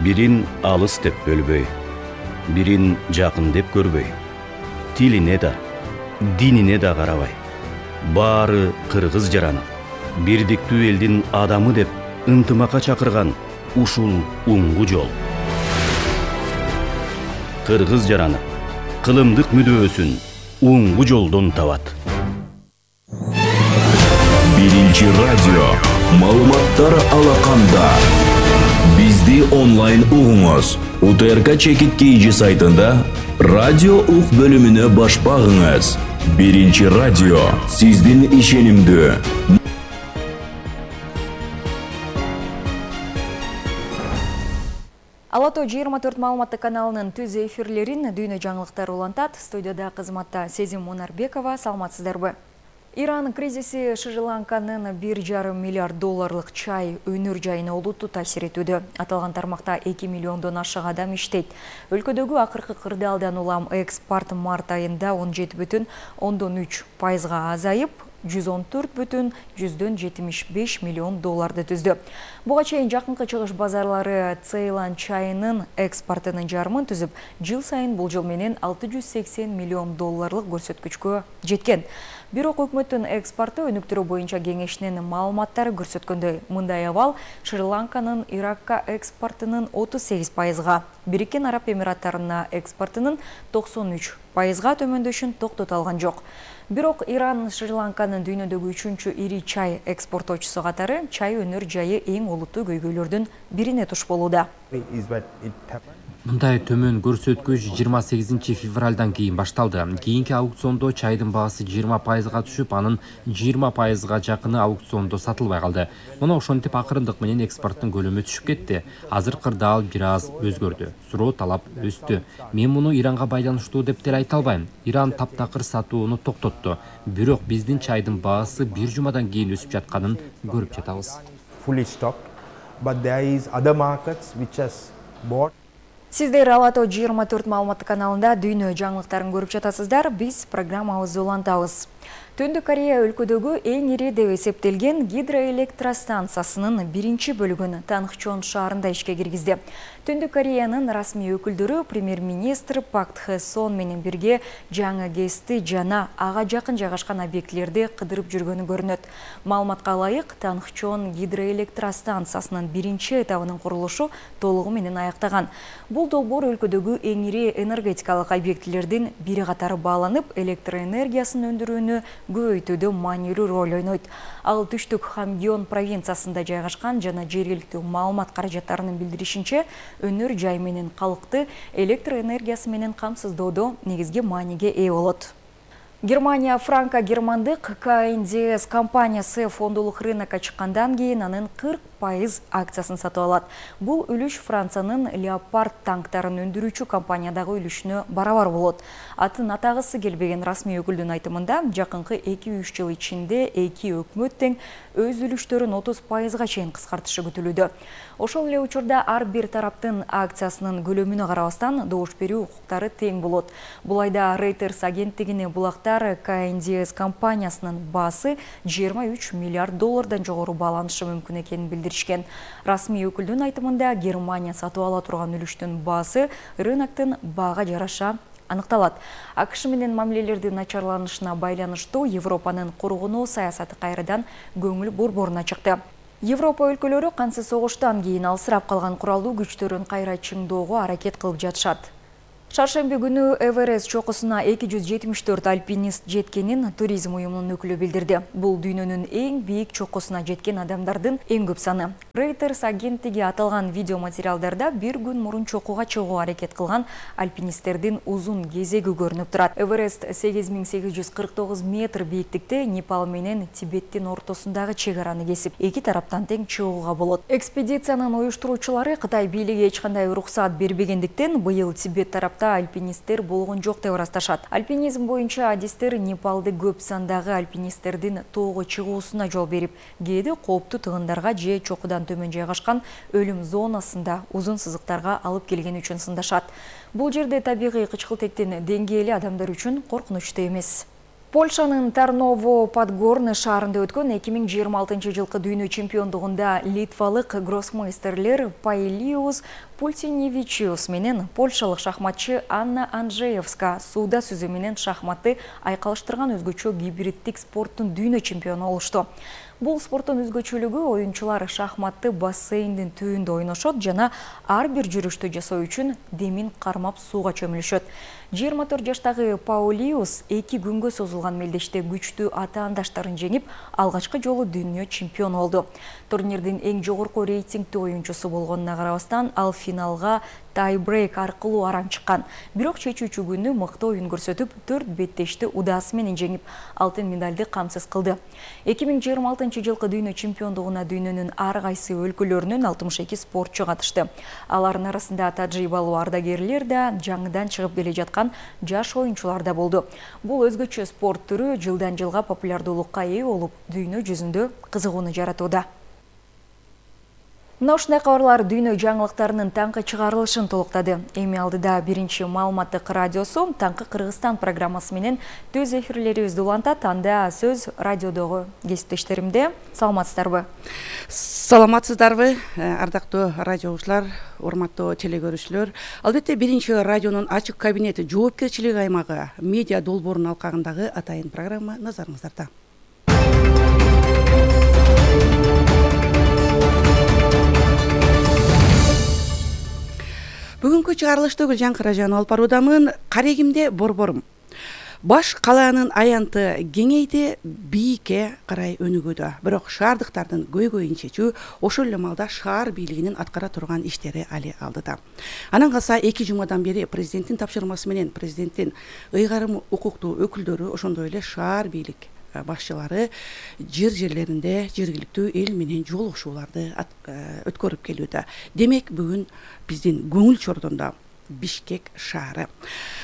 Бирин алыс деп бөлбөй, бирин жакын деп көрбөй, тилине да, динине да карабай, баары кыргыз жараны, бирдиктүү элдин адамы деп ынтымакка чакырган ушул уңгу жол. Кыргыз жараны кылымдык мүдөөсүн уңгу жолдон табат. Биринчи радио маалыматтар алаканда. Бизди онлайн угуңуз. УТРК Чекит KG сайтында радио ук бөлүмүнө баш багыңыз. Биринчи радио сиздин ишенимдүү. Алато 24 маалыматтык каналынын түз эфирлерин дүйнө жаңылыктар улантат. Студияда кызматта Сезим Мунарбекова. Саламатсыздарбы? Иран кризиси Шри-Ланканын 1,5 миллиард долларлык чай өнөр жайына олуттуу таасир этүүдө. Аталган тармакта 2 миллиондон ашык адам иштейт. Өлкөдөгү акыркы кырдаалдан улам экспорт март айында 17,3% азайып, 114,75 миллион долларды түздү. Буга чейин жакынкы чыгыш базарлары Цейлан чайынын экспортунун жарымын түзүп, жыл сайын бул жыл менен 680 миллион долларлык көрсөткүчкө жеткен. Бирок өкмөттүн экспорту өнүктүрүү боюнча кеңешинин маалыматтары көрсөткөндөй, мындай абал Шри-Ланканын Иракка экспортунун 38%, Бириккен Араб Эмираттарына экспортунун 93%га төмөндөшүн токтото алган жок. Бирок Иран Шри-Ланканын дүйнөдөгү 3-чү ири чай экспортоочусу катары чай өнөр жайы эң олуттуу көйгөйлөрдүн бирине туш болууда. Мындай төмөн көрсөткүч 28 февралдан кийин башталды. Кийинки аукциондо чайдын баасы 20%га түшүп, анын 20%га жакыны аукциондо сатылбай калды. Муну ошентип акырындык менен экспорттун көлөмү түшүп кетти. Азыр кырдаал бир аз өзгөрдү. Суроо талап өстү. Мен муну Иранга байланыштуу деп деле айта албайм. Иран таптакыр сатууну токтотту. Бирок биздин чайдын баасы бир жумадан кийин өсүп жатканын көрүп жатабыз. Сиздер Алато 24 маалыматтык каналында дүйнө жаңылыктарын көрүп жатасыздар. Биз программабызды улантабыз. Түндүк Корея өлкөдөгү эң ири деп эсептелген гидроэлектростанциясынын биринчи бөлүгүн Тангчон шаарында ишке киргизди. Түндүк Кореянын расмий өкүлдөрү премьер-министр Пак Кхэ Сон менен бирге жаңы ГЭСти жана ага жакын жайгашкан объектилерди кыдырып жүргөнү көрүнөт. Маалыматка ылайык, Тангчон гидроэлектростанциясынын биринчи этабынын курулушу толугу менен аяктаган. Бул долбоор өлкөдөгү эң ири энергетикалык объектилердин бири катары бааланып, электроэнергиясын өндүрүүнү көбөйтүүдө маанилүү роль ойнойт. Ал түштүк Хамгён провинциясында жайгашкан жана жергиликтүү маалымат каражаттарынын билдиришинче, өнөр жай менен калкты электроэнергиясы менен камсыздоодо негизги мааниге ээ болот. Германия франко-германдык КНДС компаниясы фондулук рынокко чыккандан кийин анын 40% акциясын сатып алат. Бул үлүш Франциянын Leopard танктарын өндүрүүчү компаниядагы үлүшүнө барабар болот. Атын атагысы келбеген расмий өкүлдүн айтымында, жакынкы 2-3 жыл ичинде эки өкмөт тең өз үлүштөрүн 30%га чейин кыскартышы күтүлүүдө. Ошол эле учурда ар бир тараптын акциясынын көлөмүнө карабастан добуш берүү укуктары тең болот. Бул айда Reuters агенттигине булактар КНДС компаниясынын баасы 23 миллиард доллардан жогору бааланышы мүмкүн экенин билдиришкен. Расмий өкүлдүн айтымында, Германия сатып ала турган үлүштүн баасы рыноктун баага жараша аныкталат. АКШ менен мамилелердин начарланышына байланыштуу Европанын кургонуу саясаты кайрадан көңүл борборуна чыкты. Европа өлкөлөрү кансыз согуштан кийин алсырап калган куралдуу күчтөрүн кайра чыңдоого аракет кылып жатышат. Шаршемби күнү Эверест чокусуна 274 альпинист жеткенин туризм уюмунун өкүлү билдирди. Бул дүйнөнүн эң бийик чокусуна жеткен адамдардын эң көп саны. Reuters агенттиги аталган видео материалдарда бир күн мурун чокуга чыгууга аракет кылган альпинисттердин узун кезеги көрүнүп турат. Эверест 8849 метр бийиктикте Непал менен Тибеттин ортосундагы чек араны кесип, эки тараптан тең чыгууга болот. Экспедициянын уюштуруучулары Кытай бийлиги эч кандай уруксат бербегендиктен быйыл Тибет тарапта альпинисттер болгон жок деп ырасташат. Альпинизм боюнча адистер Непалды көп сандагы альпинисттердин тоого чыгуусуна жол берип, кээде кооптуу тыгындарга же чокудан төмөн жайгашкан өлүм зонасында узун сызыктарга алып келгени үчүн сындашат. Бул жерде табигый кычкылтектин деңгээли адамдар үчүн коркунучтуу эмес. Польшанын Тарново-Подгорный шаарында өткөн 2026 жылкы дүйнө чемпиондугунда литвалык гроссмейстерлер Паилиус Пульсиневичиус менен польшалык шахматчы Анна Анжеевска сууда сүзүү менен шахматты айкалыштырган өзгөчө гибриддик спорттун дүйнө чемпиону болушту. Бул спорттун өзгөчөлүгү оюнчулар шахматты бассейндин түбүндө ойношот жана ар бир жүрүштү жасоо үчүн демин кармап сууга чөмүлүшөт. 24 жаштагы Паулиус 2 күнгө созулган мелдеште күчтүү атаандаштарын жеңип, алгачкы жолу дүйнө чемпиону болду. Турнирдин эң жогорку рейтингдүү оюнчусу болгонуна карабастан, ал финалга тайбрейк аркылуу арам чыккан. Бирок чечүүчү күнү мыкты оюн көрсөтүп, 4 беттешти удаасы менен жеңип, алтын медалды камсыз кылды. 2026 жылкы дүйнө чемпиондугуна дүйнөнүн ар кайсы өлкөлөрүнөн 62 спортчу катышты. Алардын арасында тажрыйбалуу ардагерлер да, жаңыдан чыгып келе жаткан жаш оюнчулар да болду. Бул өзгөчө спорт түрү жылдан жылга популярдуулукка ээ болуп, дүйнө жүзүндө кызыгууну жаратууда. Мына ушундай кабарлар дүйнө жаңылыктарынын таңкы чыгарылышын толуктады. Эми алдыда биринчи маалыматтык радиосу таңкы Кыргызстан программасы менен төз эфирлерибизди улантат. Анда сөз радиодогу кесиптештеримде. Саламатсыздарбы? Саламатсыздарбы, ардактуу радио угуучулар, урматтуу телекөрүүчүлөр. Албетте биринчи радионун ачык кабинети жоопкерчилик аймагы медиа долбоорунун алкагындагы атайын программа назарыңыздарда. Бүгүнкү чыгарылышты Гүлжан Кыражанова алып баруудамын. Карегимде борборум. Баш калаанын аянты кеңейди, бийикке карай өнүгүүдө. Бирок шаардыктардын көйгөйүн чечүү ошол эле маалда шаар бийлигинин аткара турган иштери али алдыда. Анан калса 2 жумадан бери президенттин тапшырмасы менен президенттин ыйгарым укуктуу өкүлдөрү, ошондой эле шаар бийлик башчылары жерлеринде жергиликтүү эл менен жолугушууларды өткөрүп келүүдө. Демек, бүгүн биздин көңүл чордондо Бишкек шаары.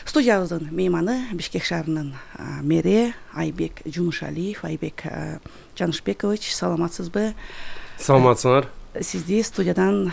Студиябыздын мейманы Бишкек шаарынын мэри Айбек Жумушалиев. Айбек Жанышбекович, саламатсызбы? Саламатсыңар. Сизди студиядан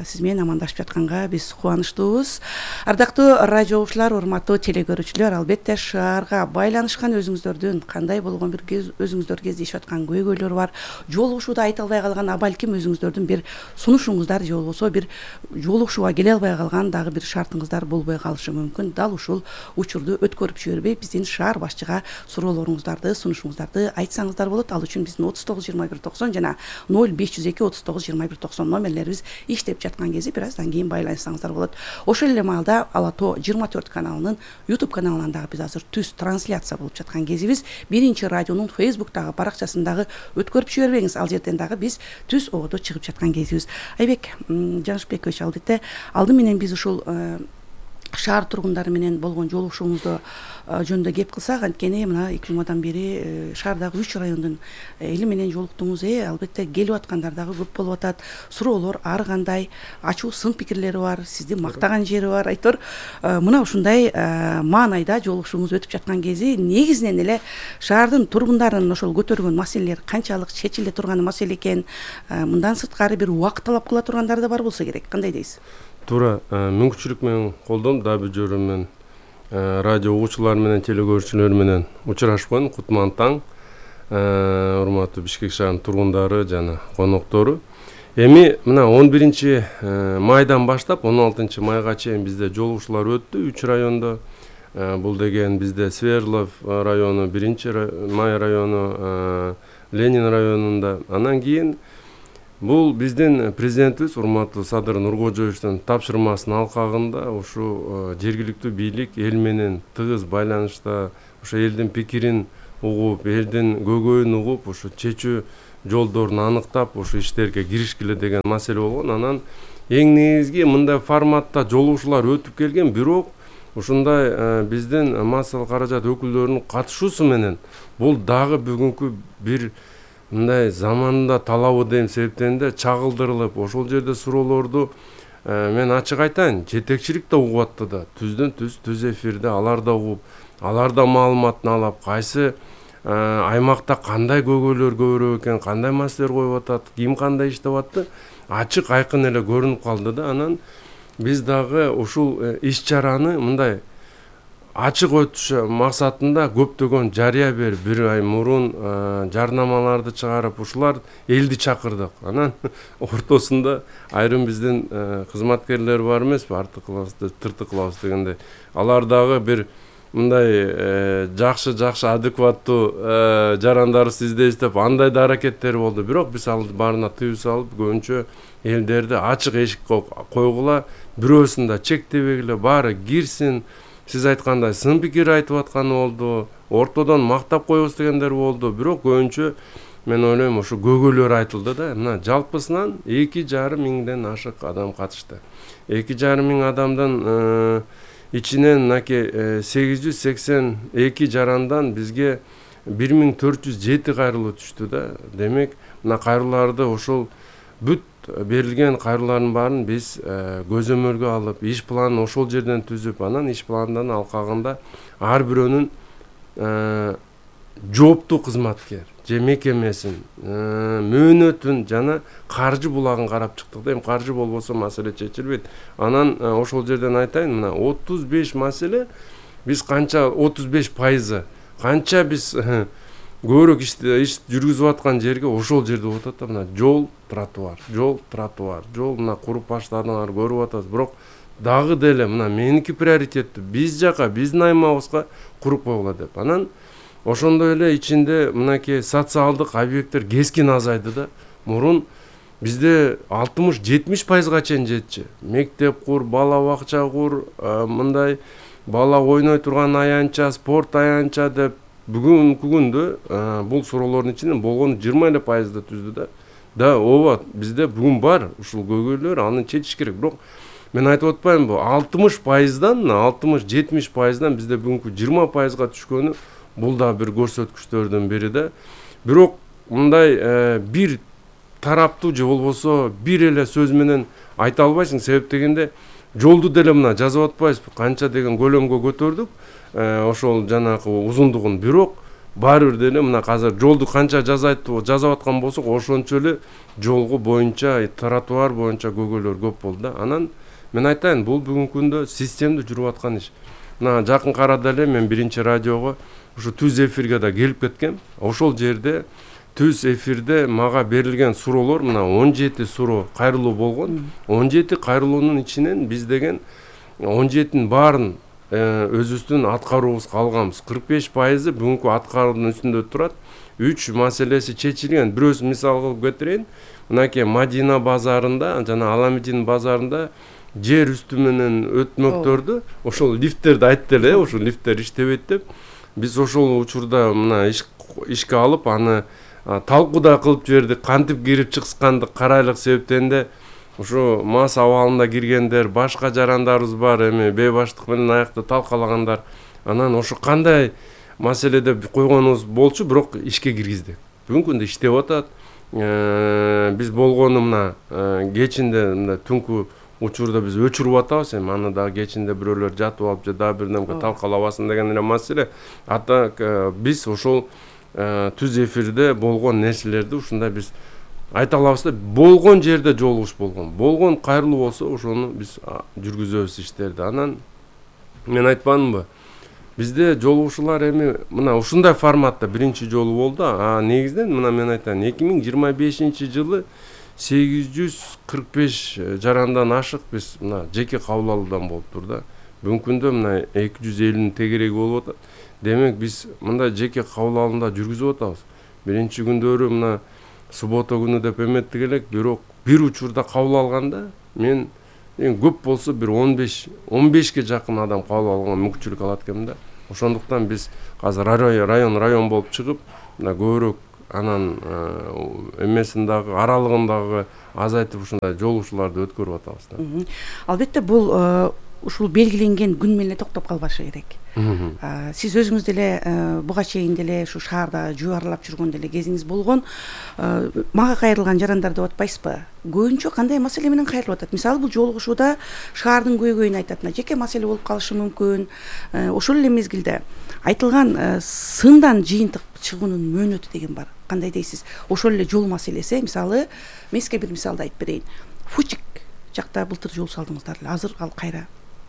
сиз менен амандашып жатканга биз кубанычтуубуз. Ардактуу радио угуучулар, урматтуу телекөрүүчүлөр, албетте шаарга байланышкан өзүңүздөрдүн кандай болгон бир өзүңүздөр кездешип аткан көйгөйлөр бар, жолугушууда айта албай калган, балким өзүңүздөрдүн бир сунушуңуздар же болбосо бир жолугушууга келе албай калган дагы бир шартыңыздар болбой калышы мүмкүн. Дал ушул учурду өткөрүп жибербей биздин шаар башчыга суроолоруңуздарды, сунушуңуздарды айтсаңыздар болот. Ал үчүн биздин 39 21 90 жана 0502 39 2190 номерлерибиз иштеп жаткан кезде бир аздан кийин байланышсаңыздар болот. Ошол эле маалда Алато 24 каналынын YouTube каналынан дагы биз азыр түз трансляция болуп жаткан кезибиз. Биринчи радионун Facebook'тагы баракчасындагы өткөрүп жибербеңиз. Ал жерден дагы биз түз ободо чыгып жаткан кезибиз. Айбек Жанышбекович, албетте алды менен биз ушул шаар тургундары менен болгон жолугушууңузду жөнүндө кеп кылсак, анткени мына 2 жумадан бери шаардагы 3 райондун эли менен жолуктуңуз. Албетте келип аткандар дагы көп болуп атат. Суроолор ар кандай, ачуу сын пикирлери бар, сизди мактаган жери бар. Айтор мына ушундай маанайда жолугушууңуз өтүп жаткан кези негизинен эле шаардын тургундарынын ошол көтөргөн маселелер канчалык чечиле турган маселе экен, мындан сырткары бир убакыт талап кыла тургандар да бар болсо керек. Кандай дейсиз? Туура, мүмкүнчүлүк менен колдом, дагы бир жөрүм менен радио угуучулар менен телекөрүүчүлөр менен учурашкан. Кутман таң, урматтуу Бишкек шаарынын тургундары жана коноктору. Эми мына 11 майдан баштап 16 майга чейин бизде жолугушуулар өттү 3 райондо. Бул деген бизде Сверлов району, 1 май району, Ленин районунда. Анан кийин бул биздин президентибиз урматтуу Садыр Нуркожоевичтин тапшырмасынын алкагында ушу жергиликтүү бийлик эл менен тыгыз байланышта, ошо элдин пикирин угуп, элдин көйгөйүн угуп, ушу чечүү жолдорун аныктап, ушу иштерге киришкиле деген маселе болгон. Анан эң негизги мындай форматта жолугушуулар өтүп келген, бирок ушундай биздин массалык каражат өкүлдөрүнүн катышуусу менен бул дагы бүгүнкү бир мындай заманында талабы деген себептен да чагылдырылып, ошол жерде суроолорду мен ачык айтайын, жетекчилик да угуп атты да, түз эфирде алар да угуп, алар да маалыматын алып, кайсы аймакта кандай көйгөйлөр көбүрөөк экен, кандай маселелер коюп атат, ким кандай иштеп атты, ачык айкын эле көрүнүп калды да. Анан биз дагы ушул иш чараны мындай ачык өтүш максатында көптөгөн жарыя берип, бир ай мурун жарнамаларды чыгарып, ушулар элди чакырдык. Анан ортосунда айрым биздин кызматкерлер бар эмеспи, артык кылабыз, тыртык кылабыз дегендей. Алар дагы бир мындай жакшы адекваттуу жарандарыбызды издеп, андай да аракеттери болду. Бирок биз ал баарына тыюу салып, көбүнчө элдерди ачык эшик койгула, бирөөсүн да чектебегиле, баары кирсин. Сиз айткандай сын пикир айтып атканы болду, ортодон мактап коебуз дегендер болду. Бирок көбүнчө мен ойлойм ошо көйгөйлөр айтылды да. Мына жалпысынан 2,5 миңден ашык адам катышты. 2,5 миң адамдын ичинен мынакей 882 жарандан бизге 1407 кайрылуу түштү да. Демек, мына кайрыларды ошол бүт берилген кайрылардын баарын биз көзөмөлгө алып, иш планын ошол жерден түзүп, анан иш планынан алкагында ар бирөөнүн жооптуу кызматкер же мекемесин, мөөнөтүн жана каржы булагын карап чыктык да. Эми каржы болбосо маселе чечилбейт. Анан ошол жерден айтайын, мына 35 маселе, биз канча 35% канча биз көбүрөөк иш жүргүзүп аткан жерге ошол жерде болуп атат да. Мына жол, тротуар, мына куруп баштадыңар, көрүп атасыз. Бирок дагы деле мына меники приоритеттүү, биз жака, биздин аймагыбызга куруп койгула деп. Анан ошондой эле ичинде мынакей социалдык объекттер кескин азайды да. Мурун бизде 60-70%га чейин жетчү. Мектеп кур, бала бакча кур, мындай бала ойной турган аянча, спорт аянча деп бүгүнкү күндө бул суроолордун ичинен болгону 20% түздү да. Да, ооба, бизде бүгүн бар ушул көйгөйлөр, аны чечиш керек. Бирок мен айтып атпаймынбы, 60%дан, 60-70%дан бизде бүгүнкү 20%га түшкөнү бул да бир көрсөткүчтөрдүн бири да. Бирок мындай бир тараптуу же болбосо бир эле сөз менен айта албайсың. Себеп дегенде жолду деле мына жазып атпайбызбы, канча деген көлөмгө көтөрдүк, ошол жанагы узундугун. Бирок баары бир деле мына азыр жолду канча жазып аткан болсок, ошончо эле жолго боюнча, тротуар боюнча көйгөйлөр көп болду да. Анан мен айтайын, бул бүгүнкү күндө системдүү жүрүп аткан иш. Мына жакын арада эле мен биринчи радиого ушу түз эфирге да келип кеткем. Ошол жерде түз эфирде мага берилген суроолор мына 17 суроо кайрылуу болгон. 17 кайрылуунун ичинен биз деген 17-ин баарын өзүбүздүн аткаруубузга алганбыз. 45% бүгүнкү аткаруунун үстүндө турат. 3 маселеси чечилген. Бирөөсүн мисал кылып кетирейин. Мынакей Мадина базарында жана Аламедин базарында жер үстү менен өтмөктөрдү, ошол лифттерди айтты эле, ошол лифттер иштебейт деп. Биз ошол учурда мына ишке алып, аны талкуу да кылып жибердик. Кантип кирип чыкканды карайлык, себептен де ушу мас абалында киргендер, башка жарандарыбыз бар, эми бейбаштык менен аякта талкалагандар. Анан ошо кандай маселеде койгонубуз болчу, бирок ишке киргиздик. Бүгүнкү күндө иштеп атат. Биз болгону мына кечинде мына түнкү учурда биз өчүрүп атабыз. Эми аны да кечинде бирөөлөр жатып алып же дагы бир нерсе талкалабасын деген эле маселе. Ата биз ошол түз эфирде болгон нерселерди ушундай биз айта алабыз да. Болгон жерде жолугуш болгон. Болгон кайрылуу болсо ошону биз жүргүзөбүз иштерди. Анан мен айтпадымбы? Bizde жолугушуулар эми мына ушундай форматта биринчи жолу болду. Негизинен мына мен айтайын, 2025-жылы 845 жарандан ашык биз мына жеке кабыл алуудан болуптур да. Бүгүнкү күндө мына 250 тегереги болуп атат. Демек биз мындай жеке кабыл алууда жүргүзүп атабыз. Биринчи күндөрү мына суббота күнү деп эметтик элек, бирок бир учурда кабыл алганда мен көп болсо бир 15-ке жакын адам кабыл алганга мүмкүнчүлүк алат экенмин да. Ошондуктан биз азыр район болуп чыгып, мына көбүрөөк анан эмесин дагы аралыгын азайтып ушундай жолугушууларды өткөрүп атабыз да. Албетте бул ушул белгиленген күн менен токтоп калбашы керек. Сиз өзүңүз деле буга чейин деле ушу шаарда жөө аралап жүргөн деле кезиңиз болгон. Мага кайрылган жарандар деп атпайсызбы? Көбүнчө кандай маселе менен кайрылып атат? Мисалы бул жолугушууда шаардын көйгөйүн айтат, жеке маселе болуп калышы мүмкүн. Ошол эле мезгилде айтылган сындан жыйынтык чыгуунун мөөнөтү деген бар. Кандай дейсиз? Ошол эле жол маселеси, мисалы, мен сизге бир мисалды айтып берейин. Фучик жакта былтыр жол салдыңыздар эле, азыр ал кайра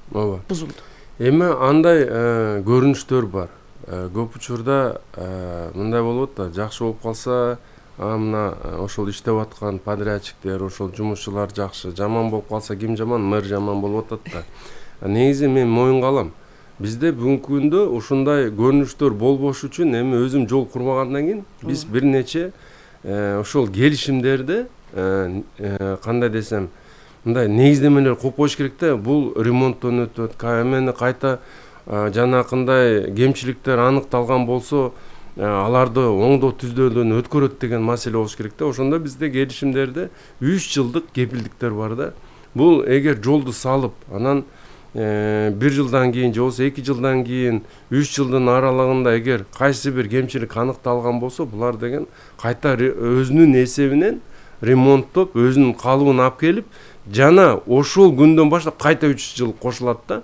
бузулду. эми андай көрүнүштөр бар. Көп учурда мындай болот да, жакшы болуп калса мына ошол иштеп аткан подрядчиктер, ошол жумушчулар жакшы, жаман болуп калса ким жаман, мэр жаман болуп атат да. Негизи мен моюнга алам. Бизде бүгүнкү күндө ушундай көрүнүштөр болбош үчүн эми өзүм жол курмагандан кийин биз бир нече ошол келишимдерди кандай десем, мындай негиздемелер коюп коюш керек да. Бул ремонттон өтөт, эмени кайта жанакындай кемчиликтер аныкталган болсо аларды оңдоо түздөөдөн өткөрөт деген маселе болуш керек да. Ошондо бизде келишимдерде 3 жылдык кепилдиктер бар да. Бул эгер жолду салып, анан 1 жылдан кийин же болбосо 2 жылдан кийин 3 жылдын аралыгында эгер кайсы бир кемчилик аныкталган болсо, булар деген кайта өзүнүн эсебинен ремонттоп, өзүнүн калыбын алып келип, жана ошол күндөн баштап кайта 3 жыл кошулат да.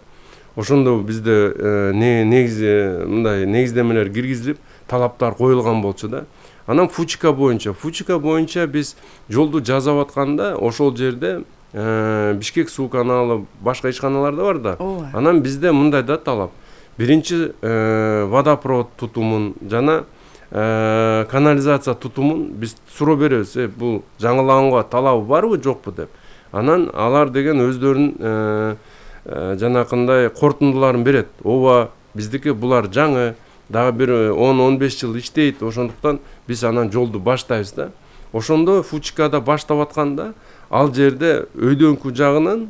Ошондо бизде негизи мындай негиздемелер киргизилип, талаптар коюлган болчу да. Анан Фучика боюнча биз жолду жасап атканда ошол жерде Бишкек суу каналы, башка ишканалар да бар да. Анан бизде мындай да талап. Биринчи водопровод тутумун жана канализация тутумун биз суроо беребиз. Бул жаңылаганга талабы барбы, жокпу деп. Анан алар деген өздөрүнүн жанакындай корутундуларын берет. Ооба, биздики булар жаңы, дагы бир 10-15 жыл иштейт. Ошондуктан биз анан жолду баштайбыз да. Ошондо Фучикада баштап атканда ал жерде өйдөнкү жагынан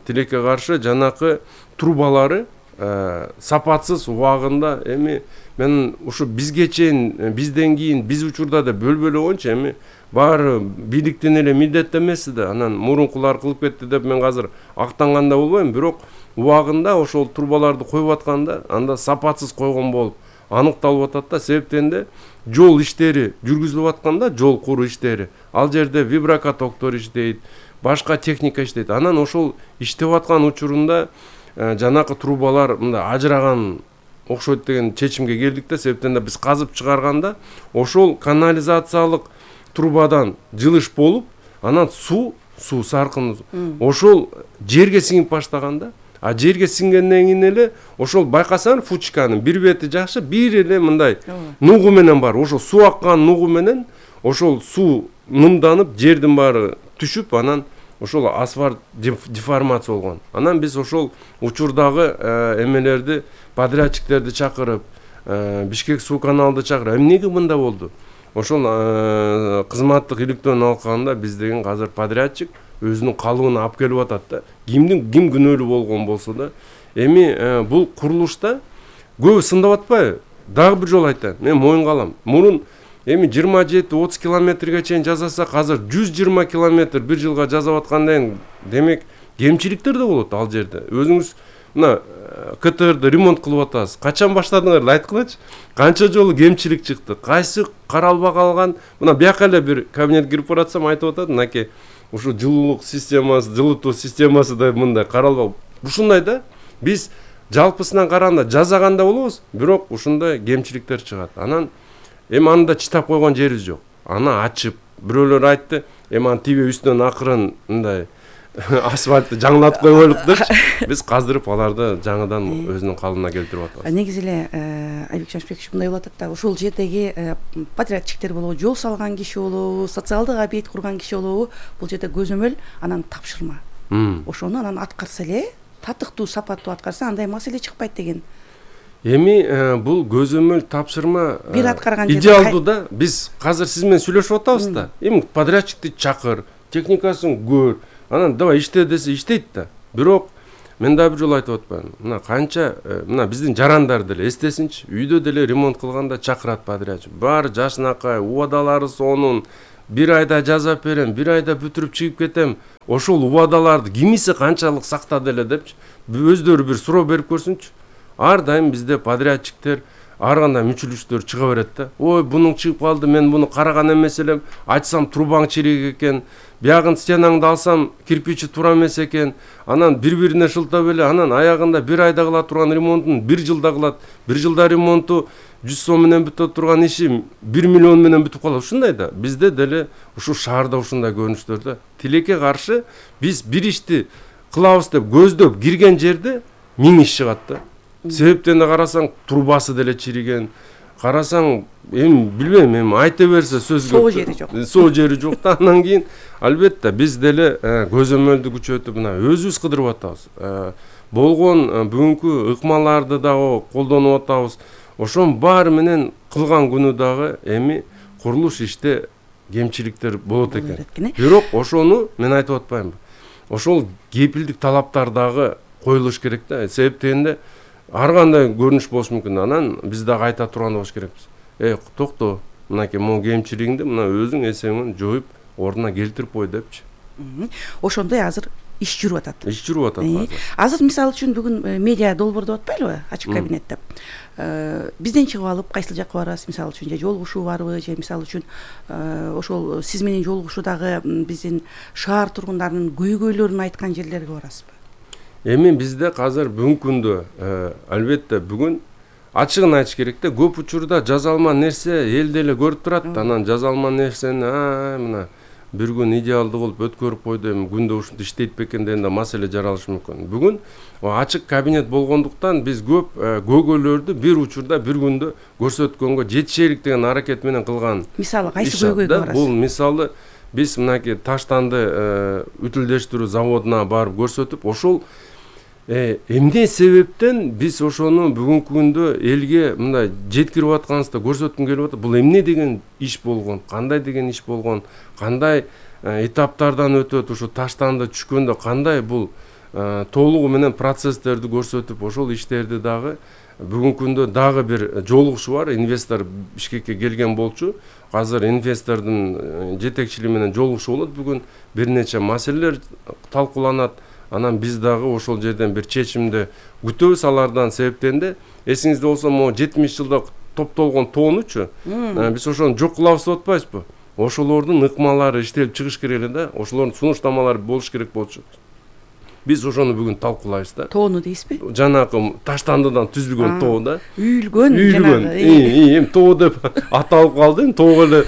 тилекке каршы жанакы трубалары сапатсыз убагында, эми мен ушу бизге чейин, бизден кийин, биз учурда да бөлбөлө койчу, эми баары бийликтен эле милдет эмес да. Анан мурункулар кылып кетти деп мен азыр актанганда болбойм, бирок убагында ошол трубаларды коюп атканда анда сапатсыз койгон болуп аныкталып атат да. Себептен де жол иштери жүргүзүлүп атканда, жол куруу иштери, ал жерде виброкатоктор иштейт, башка техника иштейт. Анан ошол иштеп аткан учурунда жанакы трубалар мындай ажыраган окшойт деген чечимге келдик да. Себептен де биз казып чыгарганда ошол канализациялык трубадан жылыш болуп, анан суу саркын ошол жерге сиңип баштаганда, а жерге сиңгенден кийин эле ошол байкасаң Фучиканын бир бети жакшы, бир эле мындай нугу менен бар. Ошол суу аккан нугу менен ошол суу нымданып, жердин баары түшүп, анан ошол асфальт деформация болгон. Анан биз ошол учурдагы эмелерди, подрядчиктерди чакырып, Бишкек суу каналды чакырып, эмнеге мында болду? Ошол кызматтык иликтөөнү алганда биз деген азыр подрядчик өзүнүн калыбын алып келип атат да. Ким күнөөлүү болгон болсо да. Эми бул курулушта көбү сындап атпайбы? Дагы бир жолу айтайын. Мен моюнга алам. Мурун эми 27-30 километрге чейин жасасак, азыр 120 километр бир жылга жасап аткандан демек кемчиликтер да болот ал жерде. Өзүңүз мына КТРды ремонт кылып атасыз. Качан баштадыңар айткылачы? Канча жолу кемчилик чыкты? Кайсы каралбай калган? Мына бияка эле бир кабинет кирип баратсам айтып атат, мынакей ушу жылуулук системасы, жылытуу системасы да мындай каралбай. Ушундай да. Биз жалпысынан караганда жасаганда болобуз, бирок ушундай кемчиликтер чыгат. Анан эми анда чыдап койгон жерибиз жок. Аны ачып, бирөөлөр айтты, эми аны тиби үстүнөн акырын мындай асфальтты жаңылатып койгойлук депчи. Биз каздырып аларды жаңыдан өзүнүн калыбына келтирип атабыз. Негизи эле Айбек Жашбекович мындай болуп атат да, ушул жердеги подрядчиктер болобу, жол салган киши болобу, социалдык объект курган киши болобу, бул жерде көзөмөл, анан тапшырма. Ошону анан аткарса эле, татыктуу, сапаттуу аткарса андай маселе чыкпайт деген. Эми бул көзөмөл тапшырма бир аткарган жерде идеалдуу да. Биз азыр сиз менен сүйлөшүп атабыз да. Эми подрядчикти чакыр, техникасын көр, анан давай иште десе иштейт да. Бирок мен дагы бир жолу айтып атпаймынбы? Мына канча мына биздин жарандар деле эстесинчи, үйдө деле ремонт кылганда чакырат подрядчик. Баары жашынакай, убадалары сонун, бир айда жасап берем, бир айда бүтүрүп чыгып кетем. Ошол убадаларды кимиси канчалык сактады эле депчи. Өздөрү бир суроо берип көрсүнчү. Ар дайым бизде подрядчиктер ар кандай мүчүлүштөр чыга берет да. Ой, бунун чыгып калды, мен буну караган эмес элем. Айтсам трубаң чирек экен. Биягын стенаңды алсам кирпичи туура эмес экен. Анан бири-бирине шылтап эле, анан аягында бир айда кыла турган ремонтун бир жылда кылат. Бир жылда ремонту 100 сом менен бүтө турган иши 1 миллион менен бүтүп калат. Ушундай да. Бизде деле ушу шаарда ушундай көрүнүштөр да. Тилекке каршы биз бир ишти кылабыз деп көздөп кирген жерде 1000 иш чыгат да. Себептен да карасаң трубасы деле чириген. Карасаң, эми билбейм, эми айта берсе сөз көп. Соо жери жок. Соо жери жок да. Андан кийин албетте биз деле көзөмөлдү күчөтүп мына өзүбүз кыдырып атабыз. Болгон бүгүнкү ыкмаларды дагы колдонуп атабыз. Ошонун баары менен кылган күнү дагы эми курулуш иште кемчиликтер болот экен. Бирок ошону мен айтып атпаймынбы. Ошол кепилдик талаптар дагы коюлуш керек да. Себептен ар кандай көрүнүш болушу мүмкүн. Анан биз дагы айта турган болуш керекпиз. Токто, мынакей могу кемчилигиңди мына өзүң эсеңмен жоюп ордуна келтирип кой депчи. Ошондой азыр иш жүрүп атат. Иш жүрүп атат. Азыр мисалы үчүн бүгүн медиа долбоордоп атпайлыбы? Ачык кабинетте. Бизден чыгып алып кайсыл жакка барасыз? Мисалы үчүн же жолугушуу барбы, же мисалы үчүн ошол сиз менен жолугушуудагы биздин шаар тургундарынын көйгөйлөрүн айткан жерлерге барасызбы? Эми бизде азыр бүгүнкү күндө албетте бүгүн ачыгын айтыш керек да. Көп учурда жазалма нерсе эл деле көрүп турат. Анан жазалма нерсени мына бир күн идеалдуу кылып өткөрүп койду, эми күндө ушинтип иштейт бекен деген да маселе жаралышы мүмкүн. Бүгүн ачык кабинет болгондуктан биз көп көйгөйлөрдү бир учурда бир күндө көрсөткөнгө жетишелик деген аракет менен кылган. Мисалы кайсы көйгөйгө барасыз? Бул мисалы биз мынакей таштанды ütүлдөштүрүү заводуна барып көрсөтүп, ошол эмне себептен биз ошону бүгүнкү күндө элге мындай жеткирип атканыбызды көрсөткүм келип атат. Бул эмне деген иш болгон, кандай деген иш болгон, кандай этаптардан өтөт, ушу таштанды түшкөндө кандай бул толугу менен процесстерди көрсөтүп, ошол иштерди дагы бүгүнкү күндө дагы бир жолугушуу бар. Инвестор Бишкекке келген болчу. Азыр инвестордун жетекчилиги менен жолугушуу болот. Бүгүн бир нече маселелер талкууланат. Анан биз дагы ошол жерден бир чечимди күтөбүз алардан. Себептен да эсиңизде болсо, могу 70 жылда топтолгон тоонучу биз ошону жок кылабыз деп атпайбызбы? Ошолордун ыкмалары иштелип чыгыш керек эле да. Ошолордун сунуштамалары болуш керек болчу. Биз ошону бүгүн талкуулайбыз да. Тоону дейсизби? Жанагы таштандыдан түзүлгөн тоо да. Үйүлгөн жанагы. Эми тоо деп аталып калды. Тоого эле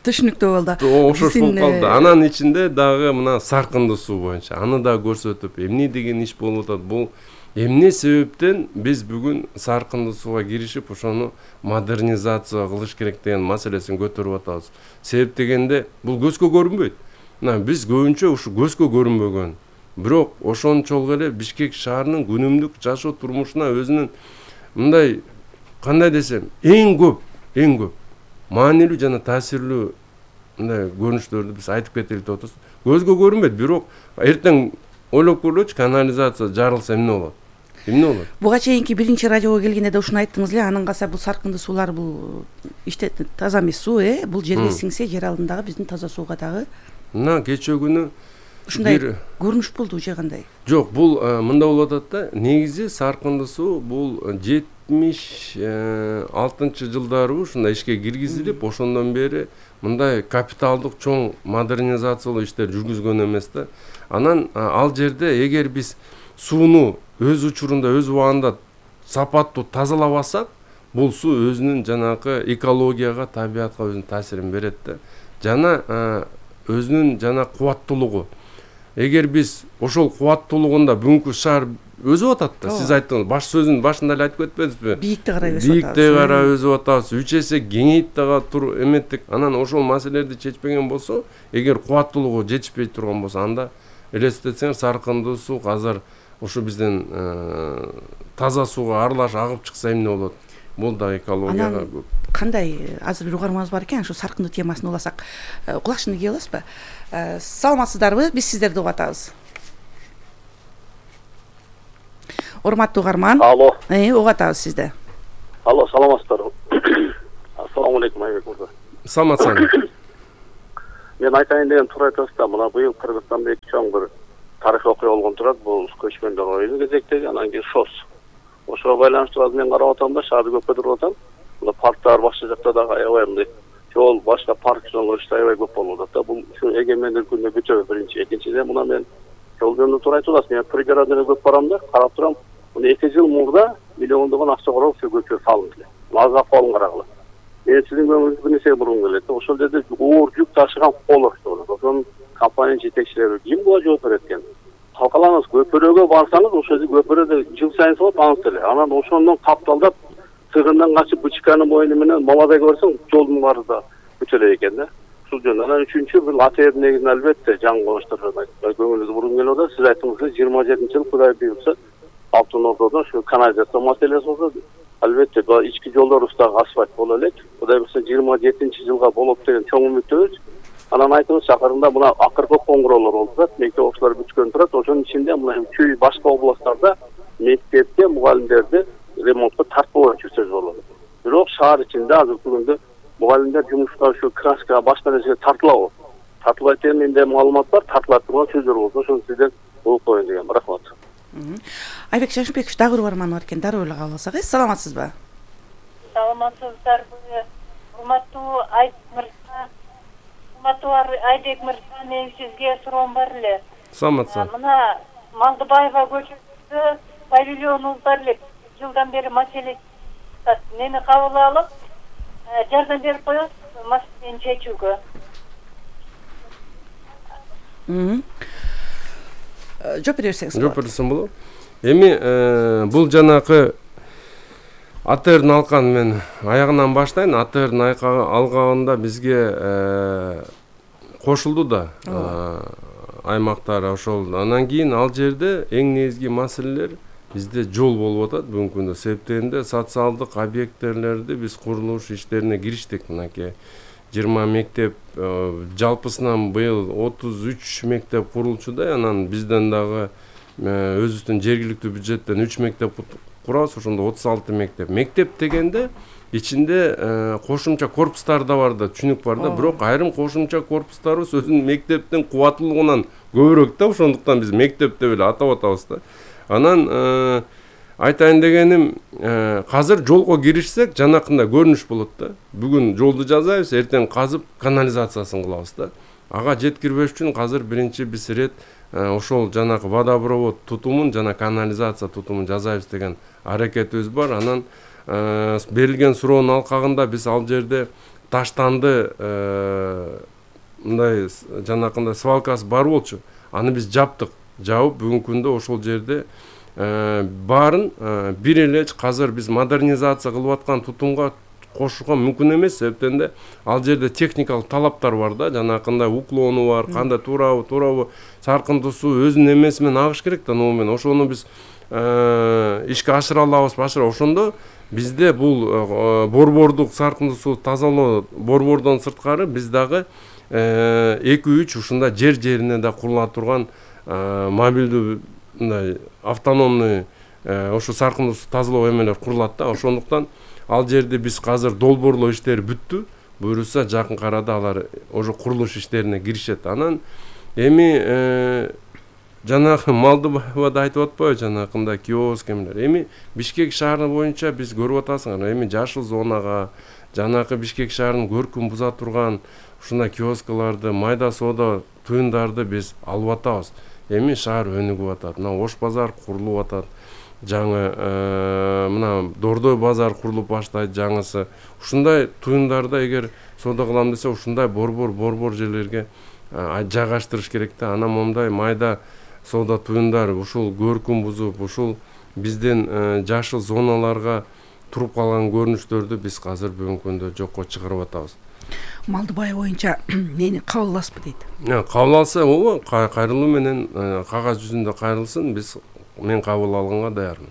түшүнүктүү болду. Ошош болуп калды. Анан ичинде дагы мына саркынды суу боюнча аны да көрсөтүп, эмне деген иш болуп атат, бул эмне себептен биз бүгүн саркынды сууга киришип, ошону модернизация кылыш керек деген маселесин көтөрүп атабыз. Себеп дегенде бул көзгө көрүнбөйт. Мына биз көбүнчө ушу көзгө көрүнбөгөн, бирок ошончолук эле Бишкек шаарынын күнүмдүк жашоо турмушуна өзүнүн мындай кандай десем, эң көп маанилүү жана таасирлүү мындай көрүнүштөрдү биз айтып кетели деп атабыз. Көзгө көрүнбөйт, бирок эртең ойлоп көрөлүчү, канализация жарылса эмне болот? Буга чейинки биринчи радиого келгенде да ушуну айттыңыз эле. Анан калса бул саркынды суулар бул иште таза эмес суу, бул жерге сиңсе жер алдындагы биздин таза сууга дагы. Мына кечээ күнү ушундай көрүнүш болду же кандай? Жок, бул мында болуп атат да. Негизи саркынды суу бул 76 жылдары ушундай ишке киргизилип, ошондон бери мындай капиталдык чоң модернизациялоо иштер жүргүзгөн эмес да. Анан ал жерде эгер биз сууну өз учурунда, өз убагында сапаттуу тазалабасак, бул суу өзүнүн жанагы экологияга, табиятка өзүнүн таасирин берет да. Жана өзүнүн жана кубаттуулугу. Эгер биз ошол кубаттуулугунда бүгүнкү шаар өзүп атат да. Сиз айттыңыз, баш сөзүнүн башында эле айтып кетпедизби? Бийикте карай өсүп атабыз. Бийикте карай өсүп атабыз. 3 эсе кеңейип дагы эметтик. Анан ошол маселелерди чечпеген болсо, эгер кубаттуулугу жетишпей турган болсо, анда элестетсеңер саркынды суу азыр ушу биздин таза сууга аралаш агып чыкса эмне болот? Бул да экологияга көп. Кандай азыр бир угармабыз бар экен, ошо саркынды темасын уласак, кулакчыны кие аласызбы? Саламатсыздарбы? Биз сиздерди угуп атабыз. Урматтуу угарман. Алло. Угуп атабыз сизди. Алло, саламатсыздарбы? Ассаламу алейкум, Айбек мырза. Саламатсызбы? Мен айтайын деген туура айтасыз да, мына быйыл Кыргызстанда эки чоң бир тарыхый окуя болгон турат. Бул көчмөндөр оюну кезектеги, анан кийин ШОС. Ошого байланыштуу мен карап атам да, шаарды көп көтөрүп атам. Мына парктар башка жакта дагы аябай мындай жол, башка парк жолдор аябай көп болуп атат да. Бул ушу эгемендик күндө бүтөбү биринчи. Экинчиден мына мен жол жөнүндө туура айтып атасыз. Мен пригородный көп барам да, карап турам. Мына 2 жыл мурда миллиондогон акча короп ушу көчө салынды. Азга колун карагыла. Мен сиздин көңүлүңүздү бир нерсе бургум келет. Ошол жерде оор жүк ташыган колор болот. Ошонун компания жетекчилери ким буга жооп берет экен? калкалаңыз көпөрөгө барсаңыз ошол көпөрөдө жыл сайын болот аныс эле. Анан ошондон тапталдап тыгындан качып Бычканын боюну менен Молодойго барсаң жолдун баары да бүт эле экен да. Ушул жөн. Анан үчүнчү бул АТРдин негизинен албетте жаңы коңуштарга көңүлүңүздү бургум келип атат. Сиз айттыңыз 27-жыл Кудай буйрса Алтын Ордодо ошо канализация маселеси болсо албетте ички жолдорубуздагы асфальт боло элек. Кудай буйрса 27-жылга болот деген чоң үмүттөбүз. Анан айтыңыз шаарында мына акыркы коңгуроолор болуп турат, мектеп окуучулар бүткөн турат. Ошонун ичинде мына чүй башка областтарда мектепте мугалимдерди ремонтко тартпоо жүрсөз болот. Бирок шаар ичинде азыркы күндө мугалимдер жумушка ушу краска башка нерсеге тартылабы? Тартылбайт деген менде маалымат бар, тартыла турган сөздөр болсо ошону сизден угуп коеюн деген. Рахмат. Айбек Шашынбекович дагы бир барман бар экен, дароо эле кабыл алсак. Саламатсызбы? Саламатсыздарбы? Урматтуу Айбек мырза, мен сизге суроом бар эле. Саламатсыз. Мына Малдыбаева көчөсүндө павильонубуз бар эле. Жылдан бери маселе мени кабыл алып, жардам берип коет маселени чечүүгө. Жооп бере берсеңиз. Жооп берсем болот. Эми бул жанакы АТРдин алканы мен аягынан баштайын. АТРдин алкагында бизге кошулду да аймактар ошол. Анан кийин ал жерде эң негизги маселелер бизде жол болуп атат бүгүнкү күндө. Себептенде социалдык объекттерлерди биз курулуш иштерине кириштик. Мынакей 20 мектеп, жалпысынан быйыл 33 мектеп курулчудай. Анан бизден дагы өзүбүздүн жергиликтүү бюджеттен 3 мектеп курабыз, ошондо 36 мектеп. Мектеп дегенде ичинде кошумча корпустар да бар да, түшүнүк бар да, бирок айрым кошумча корпустарыбыз өзүнүн мектептин кубаттуулугунан көбүрөөк да, ошондуктан биз мектеп деп эле атап атабыз да. Анан айтайын дегеним, азыр жолго киришсек жанакындай көрүнүш болот да. Бүгүн жолду жасайбыз, эртең казып канализациясын кылабыз да. Ага жеткирбеш үчүн азыр биринчи биз рет ошол жанакы водопровод тутумун жана канализация тутумун жасайбыз деген аракетибиз бар. Анан берилген суроонун алкагында биз ал жерде таштанды мындай жанакындай свалкасы бар болчу. Аны биз жаптык. Жабып бүгүнкү күндө ошол жерде баарын бир эле азыр биз модернизация кылып аткан тутумга кошууга мүмкүн эмес. Себептен ал жерде техникалык талаптар бар да, жанакындай уклону бар, кандай туурабы саркындуусу өзүнүн эмеси менен агыш керек да, номен. Ошону биз ишке ашыра алабыз, ошондо бизде бул борбордук саркындуусу тазалоо борбордон сырткары биз дагы 2-3 ушундай жерине да курула турган мобилдүү мындай автономный ошо саркындуусу тазалоо эмелер курулат да. Ошондуктан ал жерде биз азыр долбоорлоо иштери бүттү. Буюрса жакын арада алар ошо курулуш иштерине киришет. Анан эми жанагы Малдыбаевада айтып атпайбы, жанакындай киоск эмелер. Эми Бишкек шаары боюнча биз көрүп атасыңар, эми жашыл зонага, жанакы Бишкек шаарынын көркүн буза турган ушундай киоскаларды, майда соода туюндарды биз алып атабыз. Эми шаар өнүгүп атат. Мына Ош базар курулуп атат. Жаңы мына Дордой базар курулуп баштайт жаңысы. Ушундай туюндарды эгер соода кылам десе, ушундай борбор жерлерге жайгаштырыш керек да. Анан момундай майда соода туюндар ушул көркүн бузуп, ушул биздин жашыл зоналарга туруп калган көрүнүштөрдү биз азыр бүгүнкү күндө жокко чыгарып атабыз. Малдыбай боюнча мени кабыл аласызбы дейт. Кабыл алса, ооба, кайрылуу менен кагаз жүзүндө кайрылсын, мен кабыл алганга даярмын.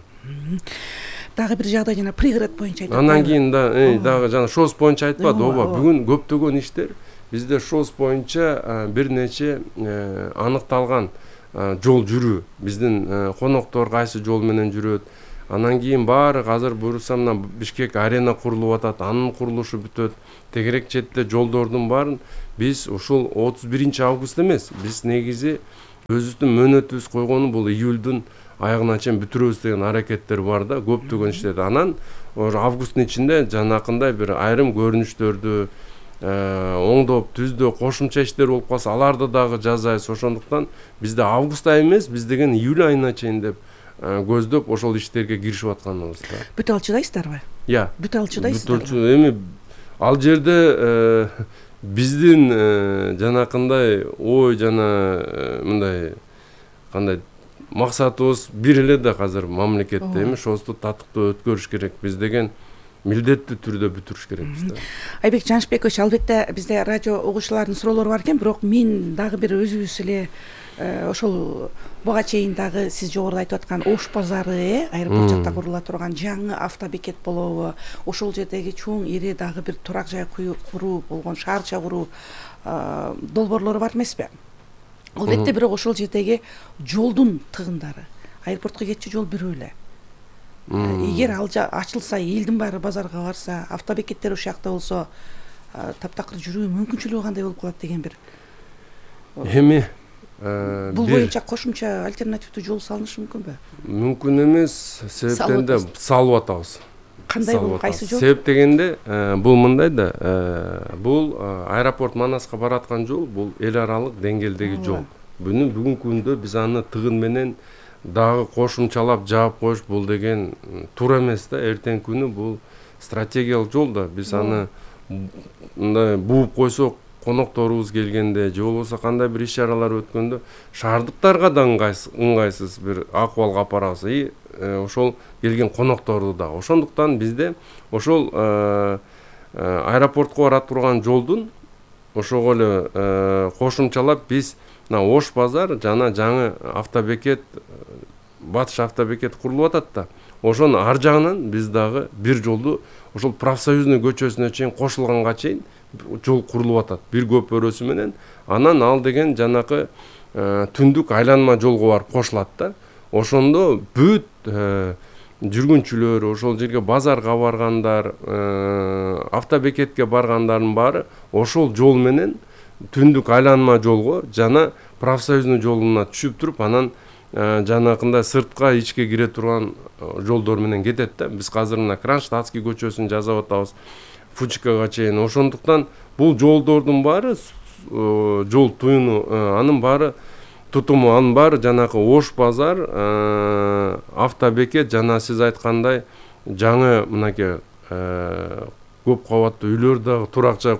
Дагы бир жагдай жана пригород боюнча айтып. Анан кийин дагы жана ШОС боюнча айтпады, ооба. Бүгүн көптөгөн иштер бизде ШОС боюнча бир нече аныкталган жол жүрүү. Биздин коноктор кайсы жол менен жүрөт. Анан кийин баары азыр буюрса мына Бишкек арена курулуп атат, анын курулушу бүтөт. Тегерек четте жолдордун баарын биз ушул 31 август эмес, биз негизи өзүбүздүн мөөнөтүбүз койгону бул июлдун аягына чейин бүтүрөбүз деген аракеттер бар да, көптөгөн иштерди. Анан августтун ичинде жанакындай бир айрым көрүнүштөрдү оңдоп, түздөө кошумча иштер болуп калса, аларды дагы жасайбыз. Ошондуктан бизде август айы эмес, биз деген июль айына чейин деп көздөп ошол иштерге киришип атканыбыз да. Бүтө алчыдайсыздарбы? Бүтө алчыдайсыздар. Эми ал жерде биздин жанакындай ой жана мындай кандай максатыбыз бир эле да азыр мамлекетте эми ошосу татыктуу өткөрүш керек биз деген милдеттүү түрдө бүтүрүш керекпиз да. Айбек Жанышбекович, албетте бизде радио угуучулардын суроолору бар экен, бирок мен дагы бир өзүбүз эле ошол буга чейин дагы сиз жогоруда айтып аткан Ош базары аэропорт жакта курула турган жаңы автобекет болобу, ошол жердеги чоң ири дагы бир турак жай куруу болгон шаарча куруу долбоорлору бар эмеспи? Албетте, бирок ошол жердеги жолдун тыгындары, аэропортко кетчү жол бирөө эле. Эгер ал ачылса, элдин баары базарга барса, автобекеттер ушул жакта болсо, таптакыр жүрүү мүмкүнчүлүгү кандай болуп калат деген бир. Эми бул боюнча кошумча альтернативдүү жол салынышы мүмкүнбү? Мүмкүн эмес, себептен да салып атабыз. Кандай бул, кайсы жол? Себеп дегенде бул мындай да, бул аэропорт Манаска бараткан жол, бул эл аралык деңгээлдеги жол. Бүгүнкү күндө биз аны тыгын менен дагы кошумчалап жаап коюш бул деген туура эмес да. Эртең күнү бул стратегиялык жол да. Биз аны мындай бууп койсок, конокторубуз келгенде же болбосо кандай бир иш-чаралар өткөндө шаардыктарга да ыңгайсыз бир акыбалга апарабыз. Ошол келген конокторду да. Ошондуктан бизде ошол аэропортко бара турган жолдун ошого эле кошумчалап биз Ош базар жана жаңы автобекет, батыш автобекет курулуп атат да. Ошонун ар жагынан биз дагы бир жолду ошол профсоюзный көчөсүнө чейин кошулганга чейин жол курулуп атат. Бир көпөрөсү менен анан ал деген жанакы түндүк айланма жолго барып кошулат да. Ошондо бүт жүргүнчүлөр, ошол жерге базарга баргандар, автобекетке баргандардын баары ошол жол менен түндүк айланма жолго жана профсоюзный жолуна түшүп туруп, анан жанакындай сыртка ичке кире турган жолдор менен кетет да. Биз азыр мына Кронштадтский көчөсүн жасап атабыз, Фучкага чейин. Ошондуктан бул жолдордун баары жол туюну, анын баары тутуму, анын баары жанакы Ош базар, автобекет жана сиз айткандай жаңы мынакей көп кабаттуу үйлөр дагы турак жай